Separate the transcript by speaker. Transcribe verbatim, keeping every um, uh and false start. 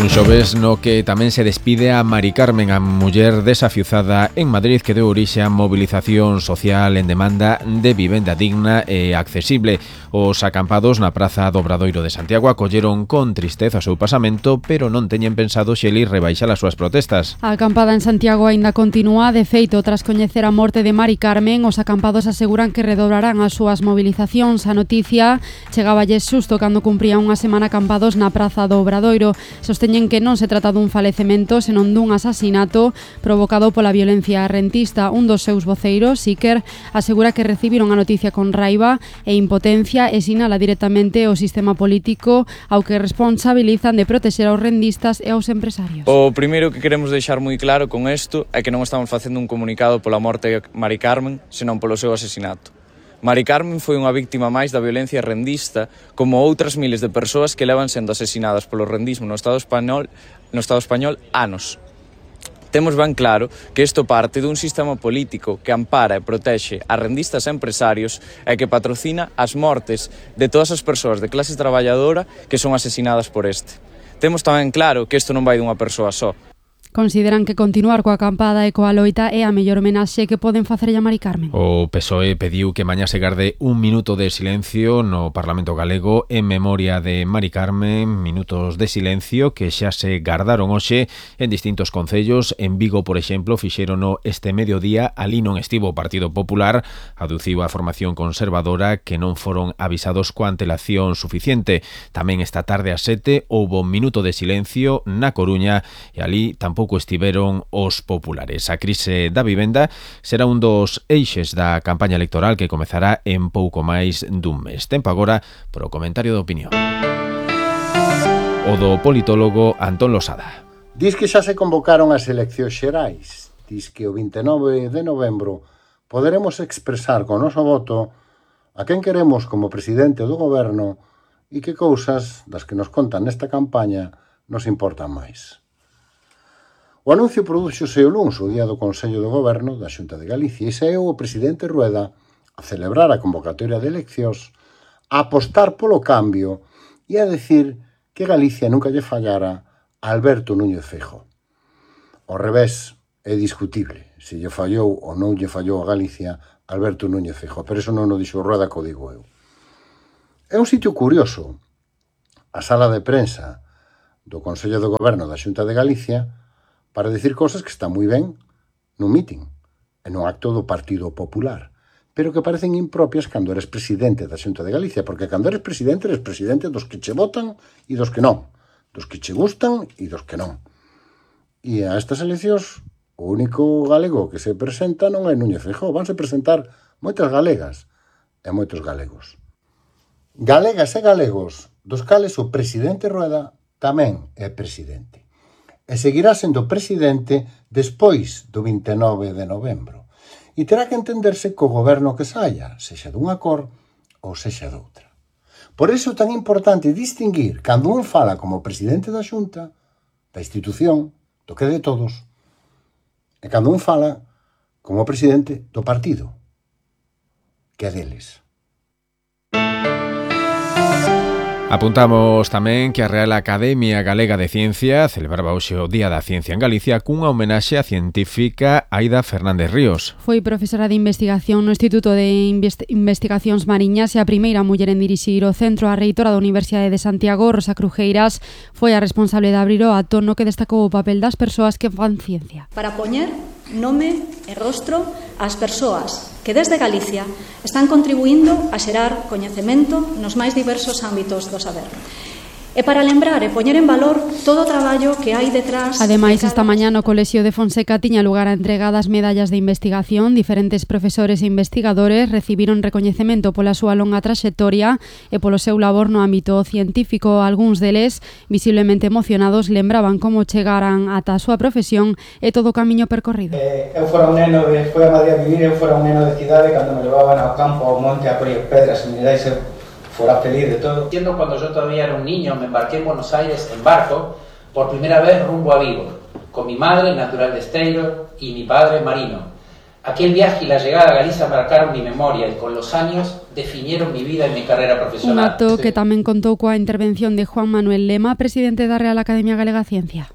Speaker 1: Un xoves no que tamén se despide a Mari Carmen, a muller desafiuzada en Madrid que deu orixe a mobilización social en demanda de vivenda digna e accesible. Os acampados na Praza do Obradoiro de Santiago acolleron con tristeza o seu pasamento, pero non teñen pensado xeli rebaixar as súas protestas.
Speaker 2: A acampada en Santiago aínda continúa. De feito, tras coñecer a morte de Mari Carmen, os acampados aseguran que redobrarán as súas mobilizacións. A noticia chegáballes xusto cando cumpría unha semana acampados na Praza do Obradoiro. Sosteñen que non se trata dun falecemento, senón dun asasinato provocado pola violencia rentista. Un dos seus voceiros, Iker, asegura que recibiron a noticia con raiva e impotencia e sinala directamente o sistema político ao que responsabilizan de protexer aos rendistas e aos empresarios.
Speaker 3: O primeiro que queremos deixar moi claro con isto é que non estamos facendo un comunicado pola morte de Mari Carmen, senón polo seu asasinato. Mari Carmen foi unha víctima máis da violencia rendista, como outras miles de persoas que levan sendo asesinadas polo rendismo no Estado español, no Estado español anos. Temos ben claro que isto parte dun sistema político que ampara e protexe a rendistas e empresarios e que patrocina as mortes de todas as persoas de clase traballadora que son asesinadas por este. Temos tamén claro que isto non vai dunha persoa só.
Speaker 2: Consideran que continuar coa acampada e coa loita é a mellor homenaxe que poden facerlle a Mari Carmen.
Speaker 1: O P S O E pediu que mañá se garde un minuto de silencio no Parlamento galego en memoria de Mari Carmen, minutos de silencio que xa se gardaron hoxe en distintos concellos. En Vigo, por exemplo, fixérono este mediodía, ali non estivo o Partido Popular, aduciu a formación conservadora que non foron avisados coa antelación suficiente. Tamén esta tarde a sete houbo un minuto de silencio na Coruña e ali tampouco estiveron os populares. A crise da vivenda será un dos eixes da campaña electoral que comezará en pouco máis dun mes. Tempo agora para o comentario de opinión. O do politólogo Antón Losada.
Speaker 4: Diz que xa se convocaron as eleccións xerais. Diz que o vinte e nove de novembro poderemos expresar con noso voto a quen queremos como presidente do goberno e que cousas das que nos contan nesta campaña nos importan máis. O anuncio prodúxose o luns, o día do Consello de Goberno da Xunta de Galicia, e saeu o presidente Rueda a celebrar a convocatoria de eleccións, a apostar polo cambio e a decir que Galicia nunca lle fallara a Alberto Núñez Feijóo. Ao revés, é discutible se lle fallou ou non lle fallou a Galicia Alberto Núñez Feijóo, pero eso non o dixo Rueda, que o digo eu. É un sitio curioso, a sala de prensa do Consello de Goberno da Xunta de Galicia, para decir cosas que están moi ben nun mitin e nun acto do Partido Popular, pero que parecen impropias cando eres presidente da Xunta de Galicia, porque cando eres presidente, eres presidente dos que che votan e dos que non, dos que che gustan e dos que non. E a estas eleccións, o único galego que se presenta non é Núñez Feijóo, vanse presentar moitas galegas e moitos galegos. Galegas e galegos, dos cales o presidente Rueda tamén é presidente. E seguirá sendo presidente despois do vinte e nove de novembro. E terá que entenderse co goberno que saia, sexa dunha cor ou sexa doutra. Por iso é tan importante distinguir cando un fala como presidente da Xunta, da institución, do que é de todos, e cando un fala como presidente do partido, que é deles.
Speaker 1: Apuntamos tamén que a Real Academia Galega de Ciencia celebraba hoxe o Día da Ciencia en Galicia cunha homenaxe á científica Aida Fernández Ríos.
Speaker 2: Foi profesora de investigación no Instituto de Invest- Investigacións Mariñas e a primeira muller en dirixir o centro. A reitora da Universidade de Santiago, Rosa Crujeiras, foi a responsable de abrir o acto no que destacou o papel das persoas que fan ciencia.
Speaker 5: Para poñer nome e rostro ás persoas que desde Galicia están contribuindo a xerar coñecemento nos máis diversos ámbitos do saber. E para lembrar e poñer en valor todo o traballo que hai detrás...
Speaker 2: Ademais, esta mañá no Colexio de Fonseca tiña lugar a entrega das medallas de investigación. Diferentes profesores e investigadores recibiron recoñecemento pola súa longa traxectoria e polo seu labor no ámbito científico. Algúns deles, visiblemente emocionados, lembraban como chegaran ata a súa profesión e todo o camiño percorrido.
Speaker 6: Eh, eu fora un neno de... Foi a Madrid a vivir, eu fora un neno de cidade, cando me levaban ao campo, ao monte, a coller pedras e minerais, eu fuera feliz de todo.
Speaker 7: Siendo cuando yo todavía era un niño, me embarqué en Buenos Aires en barco por primera vez rumbo a Vigo, con mi madre, natural de Esteiro, y mi padre, marino. Aquel viaje y la llegada a Galicia marcaron mi memoria y con los años definieron mi vida y mi carrera profesional.
Speaker 2: Un acto que tamén contou coa intervención de Juan Manuel Lema, presidente da Real Academia Galega Ciencia.